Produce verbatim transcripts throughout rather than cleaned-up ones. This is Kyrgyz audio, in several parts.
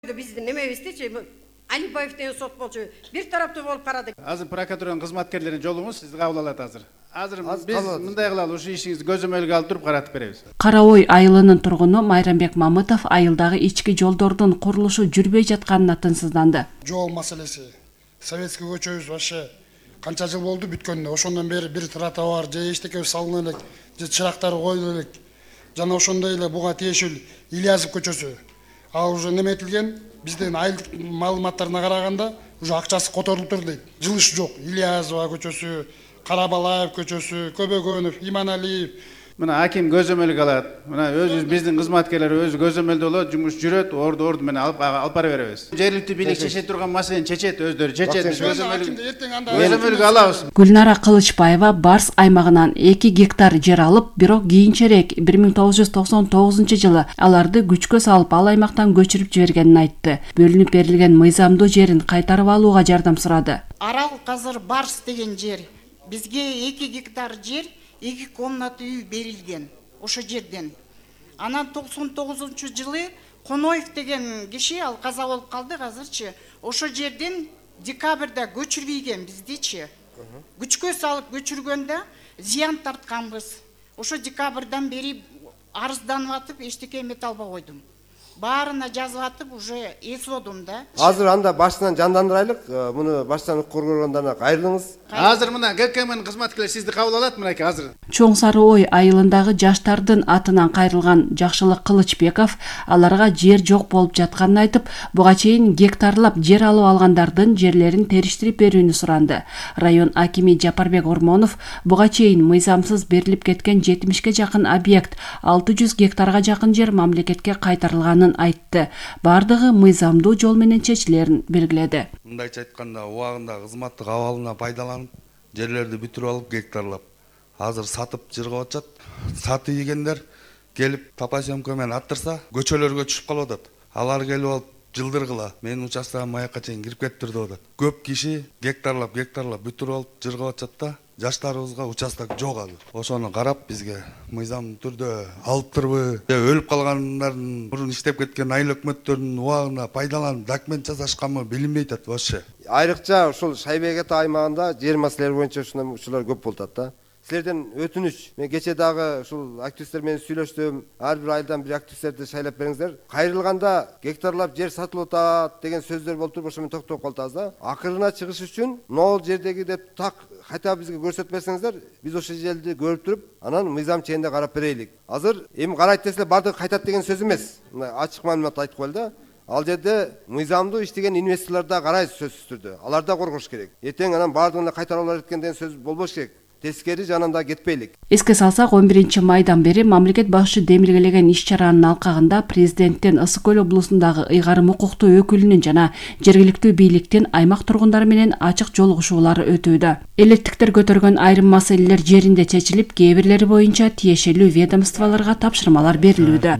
Биздин немебиздичи Алибаев деген сот болчу бир тараптуу болуп карады. Азыр прокуратуранын кызматкерлерин жолуңуз сизди кабыл алат азыр. Азыр биз мындай кылалы, ушу ишиңизди көзөмөлгө алып туруп каратып беребиз. Кара Ой айылынын тургуну Майрамбек Мамытов айылдагы ички жолдордун курулушу жүрбөй жатканына тынчсызданды. Жол маселеси. Советский көчөбүз вообще канча жыл болду бүткөнүнө. Ошондон бери бир тротуар же эчтеке салына элек, же чырактар коюла элек. Жана ошондой эле буга тиешелүү Ильязов көчөсү. Ал уже неметилген, биздин айылдык маалыматтарына караганда уже акчасы которулуптур дейт. Жылыш жок. Ильязова көчөсү, Карабалаев көчөсү, Көбөгөнов, Иманалиев. Мына аким көзөмөлгө алат. Мына өзүбүз биздин кызматкерлер өзү көзөмөлдө болот, жумуш жүрөт, орду орду менен алып алып бара беребиз. Жергиликтүү бийлик чечет турган маселени чечет, өздөрү чечет. Көзөмөлгө алабыз. Гүлнара Кылычбаева Барс аймагынан эки гектар жер алып, бирок кийинчерээк бир миң тогуз жүз токсон тогузунчу жылы аларды күчкө салып, ал аймактан көчүрүп жибергенин айтты. Бөлүнүп берилген мыйзамдуу жерин кайтарып алууга жардам сурады. Арал азыр Барс деген жер. Бизге эки гектар жер, эки комната үй берилген ошо жерден. Анан токсон тогузунчу жылы Коноев деген киши, ал каза болуп калды азырчы. Ошо жерден декабрда көчүрбөйгөн биздичи. Күчкө салып көчүргөндө зыян тартканбыз. Ошо декабрдан бери арызданып атып, эчтеке эмете албай койдум. Баарына жазып атып, уже эсодум да. Азыр анда башынан жандандырайлык, муну баштан укур көргөндөрүнө кайрылыңыз. Азыр мына ГКМнын кызматкерлери сизди кабыл алат мынакей азыр. Чоң Сары Ой айылындагы жаштардын атынан кайрылган Жакшылык Кылычбеков аларга жер жок болуп жатканын айтып, буга чейин гектарлап жер алып алгандардын жерлерин териштирип берүүнү суранды. Район акими Жапарбек Ормонов буга чейин мыйзамсыз берилип кеткен жетимишке жакын объект, алты жүз гектарга жакын жер мамлекетке кайтарылганын айтты. Бардыгы мыйзамдуу жол менен чечилерин белгиледи. Мындайча айтканда, убагында кызматтык абалына пайдаланып, жерлерди бүтүрүп алып, гектарлап, азыр сатып жыргап атышат. Саты ийгендер келип топосъемка менен аттырса, көчөлөргө түшүп калып атат. Алар келип алып жылдыргыла, менин участкага маякка чейин кирип кетиптир деп атат. Көп киши гектарлап, гектарлап бүтүрүп алып жыргап атышат да. Жаштарыбызга участок жок азыр. Ошону карап бизге мыйзам түрдө алыптырбы, өлүп калгандардын мурун иштеп кеткен айыл өкмөттөрүнүн убагына пайдаланып документ жасашканбы билинбей атат вообще. Айрыкча ушул Шайбек ата аймагында жер маселелери боюнча ушундай учурлар көп болуп атат да. Силерден өтүнүч, мен кече дагы ушул активисттер менен сүйлөштүм. Ар бир айылдан бир активисттерди шайлап бериңиздер. Кайрылганда гектарлап жер сатылып атат деген сөздөр болуп туруп, ошо менен токтоп калдыбыз да. Акырына чыгыш үчүн могул жердеги деп так хотя бизге көрсөтүп берсеңиздер, биз ошо жерди көрүп туруп, анан мыйзам чегинде карап берейлик. Азыр эми карайт десе бардыгы кайтат деген сөз эмес. Мына ачык маалымат айтып коелу да. Ал жерде мыйзамдуу иштеген инвесторлор да карайбыз сөзсүз түрдө. Алар да коргош керек. Эртең анан бардыгына кайтарып алар экен деген сөз болбош керек. Тескери жанында кетпейлик. Эске салсак, он биринчи майдан бери мамлекет башчы демилгелеген иш-чаранын алкагында президенттен Ысык Көл облусундагы ыйгарым укуктуу өкүлүнүн жана жергиликтүү бийликтин аймак тургундары менен ачык жолугушуулары өтүүдө. Электиктер көтөргөн айрым маселелер жеринде чечилип, кээ бирлери боюнча тиешелүү ведомстволорго тапшырмалар берилүүдө.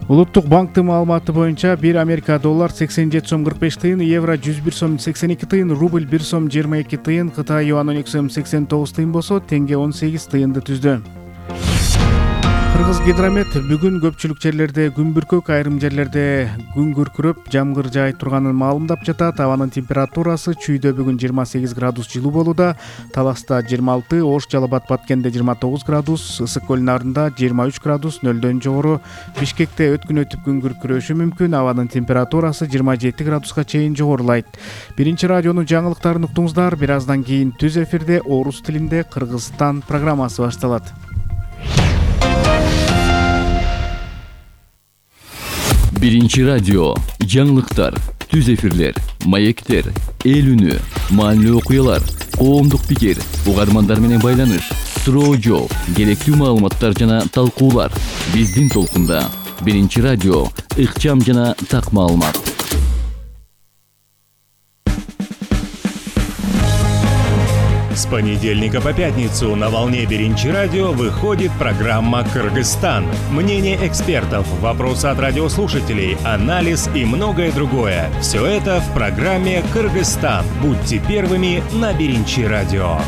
Улуттук банктын маалыматы боюнча бир Америка доллар сексен жети сом кырк беш тыйын, евро жүз бир сом сексен эки тыйын, рубль бир сом жыйырма эки тыйын, Кытай юан он эки сом сексен тогуз тыйын болсо, теңге он сегиз тыйынды түздү. Кыргыз гидромет бүгүн көпчүлүк жерлерде күн бүркөк, айрым жерлерде күн күркүрөп, жамгыр жаай турганын маалымдап жатат. Абанын температурасы чүйдө бүгүн жыйырма сегиз градус жылуу болууда, Таласта жыйырма алты, Ош, Жалал Абад, Баткенде жыйырма тогуз градус, Ысык Көл нарында жыйырма үч градус, нөлдөн жогору. Бишкекте өткүн өтүп күн күркүрөшү мүмкүн, абанын температурасы жыйырма жети градуска чейин жогорулайт. Биринчи радионун жаңылыктарын уктуңуздар. Бир аздан кийин түз эфирде орус тилинде Кыргызстан программасы башталат. Биринчи радио, жаңылыктар, түз эфирлер, маектер, эл үнү, маанилүү окуялар, коомдук пикир, угармандар менен байланыш, суроо жооп, керектүү маалыматтар жана талкуулар. Биздин толкунда Биринчи радио, ыкчам жана так маалымат. С понедельника по пятницу на волне Биринчи радио выходит программа «Кыргызстан». Мнение экспертов, вопросы от радиослушателей, анализ и многое другое. Все это в программе «Кыргызстан». Будьте первыми на Биринчи радио.